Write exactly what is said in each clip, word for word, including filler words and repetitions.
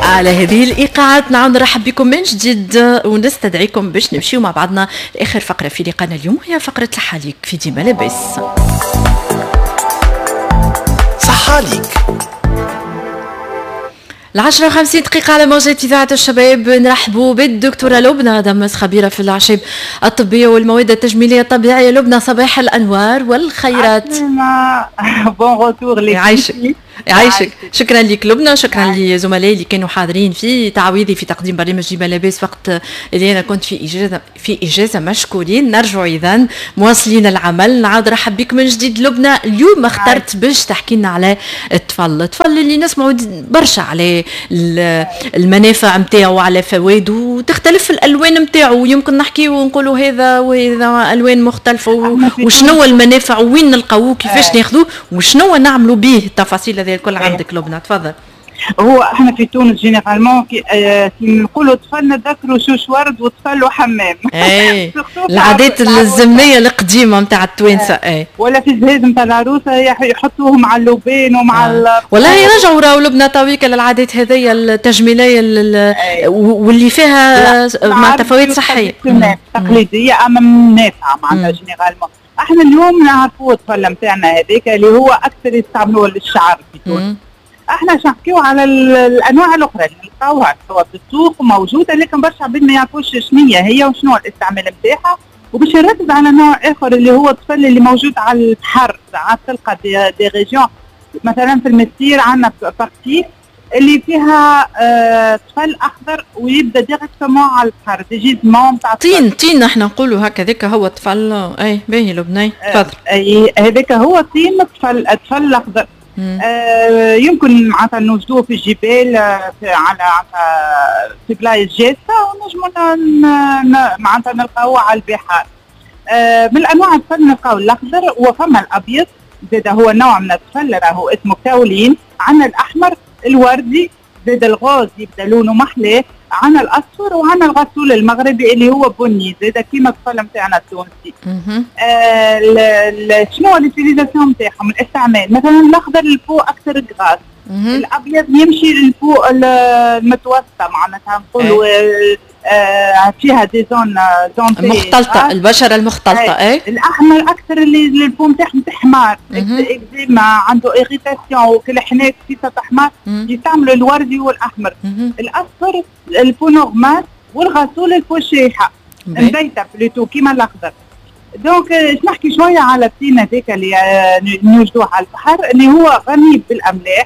على هذه الايقاعات نعاود نرحب بكم من جديد ونستدعيكم باش نمشيو مع بعضنا لاخر فقره في لقانا اليوم، هي فقره صحة ليك في ديما لاباس. صحة ليك. العشرة وخمسين دقيقة على موجة إذاعة الشباب. نرحبوا بالدكتورة لبنى دمس، خبيرة في الأعشاب الطبية والمواد التجميلية الطبيعية. لبنى، صباح الأنوار والخيرات. bon retour. يعيشك يعيشك، شكرا لك لبنى، شكرا لزملائي اللي كانوا حاضرين في تعويضي في تقديم برنامج ديما لاباس وقت اللي انا كنت في اجازه في اجازه مشكورين. نرجع اذا مواصلين العمل. نعاود رحب بك من جديد لبنى. اليوم اخترت باش تحكي لنا على الطفل، الطفل اللي نسمعوا برشا على المنافع نتاعو، على فوائده، وتختلف الالوان نتاعو. يمكن نحكي ونقولوا هذا وهذا الوان مختلفه، وشنو المنافع، وين نلقاوه، كيفاش ناخذوه، وشنو نعملوا به. التفاصيل هذه الكل عندك لبنى، تفضل. هو احنا في تونس généralement كي, آه كي نقولوا طفل نذكروا شوش ورد وطفل وحمام. اي، العادات الزمنية القديمة نتاع التوانسه اي. ولا في الجهاز نتاع العروسة يحطوه مع اللوبين ومع آه. والله رجعوا راهو لبنى تويكا للعادات هذيا التجميلية واللي فيها مع فوائد صحيه. تقليدية اما نافعه. معناتها généralement احنا اليوم نعرفوا الطفل نتاعنا هذاك اللي هو اكثر يستعملوه للشعر في تونس. احنا باش نحكيو على الانواع الاخرى اللي نلقاوها توا في السوق موجوده، لكن برشا عباد ما يعرفوش شنو هي وشنو الاستعمال نتاعها. وباش نركز على نوع اخر اللي هو الطفل اللي موجود على البحر. ساعات تلقى des, des régions، مثلا في المنستير عندنا partie اللي فيها آه طفل اخضر ويبدا directement على البحر، des gisements تاع طين طين احنا نقولوا هكا، هو طفل. اي باهي لبنى، تفضل. اي، هذاك هو طين الطفل، الطفل الاخضر. آه يمكن معناتها نوجدوه في الجبال، آه، في على في بلايص جافه، ونجموا معناتها نلقاوه على البحار. آه من الانواع الطفل نلقاو الاخضر، وفما الابيض زاد هو نوع من الطفل راهو اسمه كاولين. عندنا الاحمر، الوردي زاد، ال rose يبدا لونه محلاه. عندنا الاصفر، وعندنا الغسول المغربي اللي هو بني زاد كيما الطفل نتاعنا التونسي. آه شنو l'utilisation نتاعهم، الاستعمال؟ مثلا الاخضر لل peau اكثر grasse، الابيض يمشي لل peau المتوسطه، معناتها نقولوا إيه. آه فيها des zones zones مختلطه، البشرة المختلطه. اي. الاحمر اكثر اللي ال peau نتاعهم تحمار، اكزيما، عنده irritation وكل حناك في تحمار، يستعملوا الوردي والاحمر. الاصفر ال peau normale، والغسول ال peau شايحه مبيته plutôt كيما الاخضر. donc نحكي شوية على الطين هذاك اللي نوجدوه على البحر، اللي هو غني بالاملاح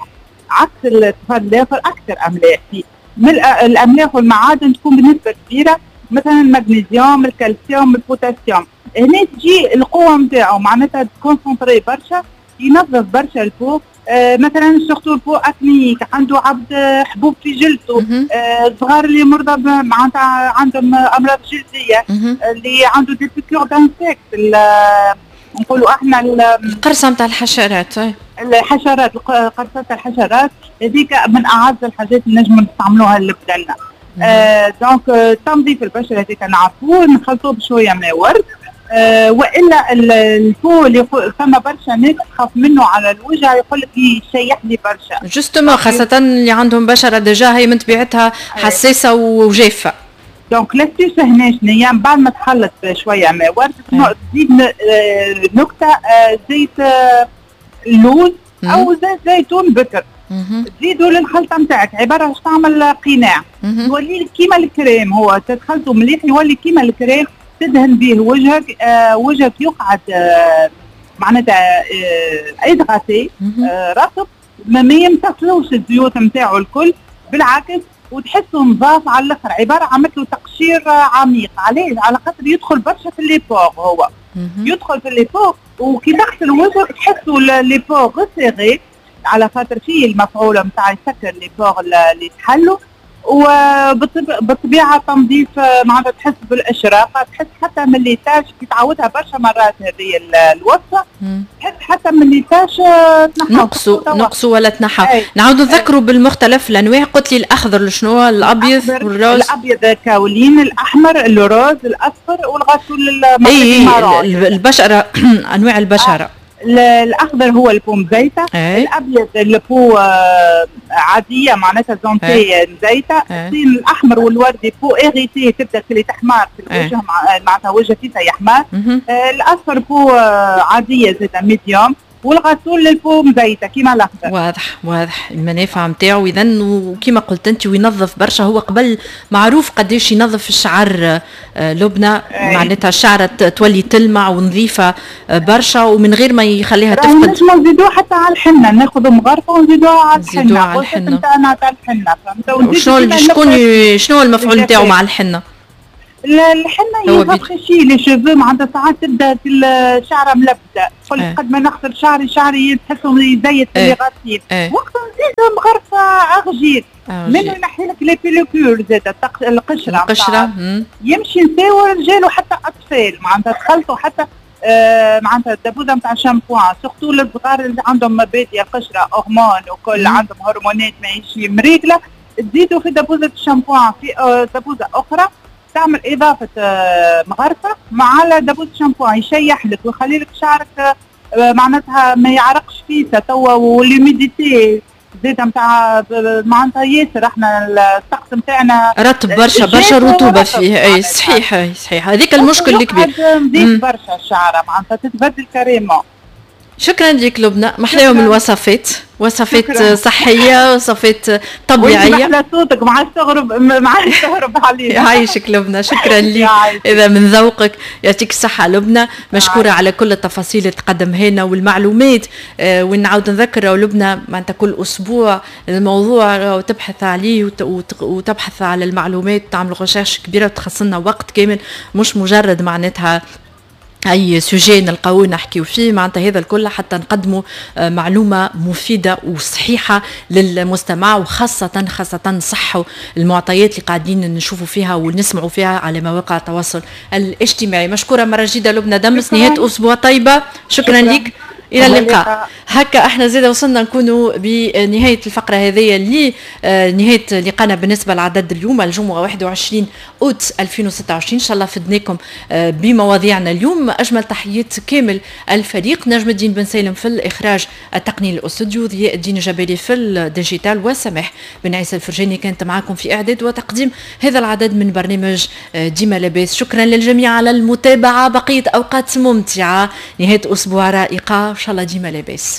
عكس الطفل الاخر، اكثر املاح فيه. من الاملاح والمعادن تكون بنسبة كبيره، مثلا المغنيسيوم، الكالسيوم، البوتاسيوم. هنا تجي القوة نتاعو، معناتها concentré برشا، ينظف برشا ال peau. آه مثلا surtout ال peau acnéique، عنده عبد حبوب في جلده، آه الصغار اللي مرضى، معناتها عندهم امراض جلديه، اللي عنده des piqûres d'insectes، نقولوا احنا القرصه نتاع الحشرات. الحشرات، قرصات الحشرات هذيك من اعز الحاجات اللي نجم نستعملوها لبدلنا. آه donc تنظيف البشرة هذيك نعرفوه، نخلطوه بشوية ماء ورد. آه والا ال peau اللي فما برشا ناس تخاف منه على الوجه، يقول لك يشيح لي برشا. justement، خاصة اللي عندهم بشره déjà هي من طبيعتها حساسة وجافه. donc l'astuce هنا شنو؟ بعد ما تخلط شوية ماء ورد تزيد آه، نكتة آه، زيت آه، اللوز او زيت زيتون بكر، تزيدوا للخلطه نتاعك، عبارة باش تعمل قناع يولي كيما الكريم. هو تدخلته مليح يولي كيما الكريم، تدهن به وجهك، آه وجهك يقعد آه معناتها آه hydraté، آه رطب، ما, ما يمتصلوش الزيوت نتاعو الكل، بالعكس وتحسه نظاف على الاخر. عبارة عملت له تقشير عميق. علاش؟ على خاطر يدخل برشا في les pores، هو يدخل في les pores، وكي تغسل وجهك تحسوا les pores resserrés، على خاطر فيه المفعول نتاع يسكر les pores اللي تحلوا. وبالطبيعه تنظيف، معناتها تحس بالاشراقه، تحس حتى من les taches كي تعودها برشا مرات هذه الوصفه، تحس حتى من les taches. تنحى، نقصوا نقصوا ولا تنحى. نعاودوا نذكروا بالمختلف الانواع. قلت لي الاخضر شنو؟ الابيض وال rose. الابيض كاولين، الاحمر، ال rose، الاصفر، والغسول. اي، البشره، انواع البشره. آه. الاخضر هو ال peau مزيته، الابيض ال peau عادية معناتها زونتي مزيته، الطين الاحمر والوردي peau irritée تبدا اللي تحمر في الوجه معناتها وجه فيها يحمر، الاصفر peau عادية زاده médium، والغسول لل peau مزيته كيما الاخضر. واضح واضح المنافع نتاعو اذا، وكيما قلت انت وينظف برشا. هو قبل معروف قداش ينظف الشعر لبنى، معناتها الشعرة تولي تلمع ونظيفه برشا ومن غير ما يخليها تفقد. نجمو نزيدوه حتى على الحنة، ناخذ مغرفه ونزيدوها على الحنة، نزيدوها على الحنة نتاعنا تاع الحنة، فهمت؟ شنو شكون شنو المفعول نتاعو مع الحنة؟ الحنة ي rafraîchit les cheveux، معناتها ساعات تبدا الشعرة ملبده، تقول قد ما نغسل شعري شعري تحسه يزيد في les racines، وقت نزيد مغرفه argile منه ينحي لك les pellicules زاد القشرة القشرة يمشي نساء ورجال وحتى اطفال، معناتها تخلطوا حتى آه معناتها الدبوزه نتاع شامبوان surtout الصغار اللي عندهم مبادئ قشرة هرمون وكل عندهم هرمونات ماهيش مريقله، تزيدوا في دبوزه الشامبوان في آه دبوزه اخرى تعمل اضافه مغرفه مع دبوزه شامبوان، يشيح لك ويخلي لك شعرك معناتها ما يعرقش فيه توا، و l'humidité زيد نتاع معناتها ياسر احنا الطقس نتاعنا رطب برشا برشا رطوبة فيه. اي صحيح اي صحيح، هذيك المشكل الكبير، نزيد برشا الشعرة معناتها تتبدل carrément. شكرا لك لبنى، محلاهم الوصفات، وصفات شكرا. صحية، وصفات طبيعية. محلى صوتك، ما عادش تهرب ما عادش تهرب علينا. يعيشك لبنى، شكرا لك اذا من ذوقك، يعطيك الصحة لبنى، مشكورة على كل التفاصيل اللي تقدمها لنا والمعلومات. آه ونعاود نذكر لبنى معناتها كل اسبوع الموضوع وتبحث عليه وتبحث على المعلومات، تعمل recherche كبيرة وتخصصنا وقت كامل، مش مجرد معناتها اي sujet نلقاوه نحكيو فيه، معناتها هذا الكل حتى نقدموا معلومة مفيدة وصحيحه للمستمع، وخاصة خاصة صحوا المعطيات اللي قاعدين نشوفوا فيها ونسمعوا فيها على مواقع التواصل الاجتماعي. مشكورة مرة جديدة لبنى دمس، نهاية اسبوع طيبة، شكرا, شكرا. لك، الى اللقاء. هكا احنا زاد وصلنا نكونوا بنهاية الفقرة هذه لنهاية لقانا بالنسبة لعدد اليوم الجمعة واحد وعشرين اوت ألفين وستة وعشرين. ان شاء الله فدناكم بمواضيعنا اليوم. اجمل تحيات كامل الفريق، نجم الدين بن سالم في الاخراج التقني للاستوديو، ضياء الدين الجبالي في ال digital، وسماح بن عيسى الفرجاني كانت معكم في اعداد وتقديم هذا العدد من برنامج ديما لاباس. شكرا للجميع على المتابعة، بقية اوقات ممتعة، نهاية اسبوع رائقه، ان شاء الله ديما لاباس.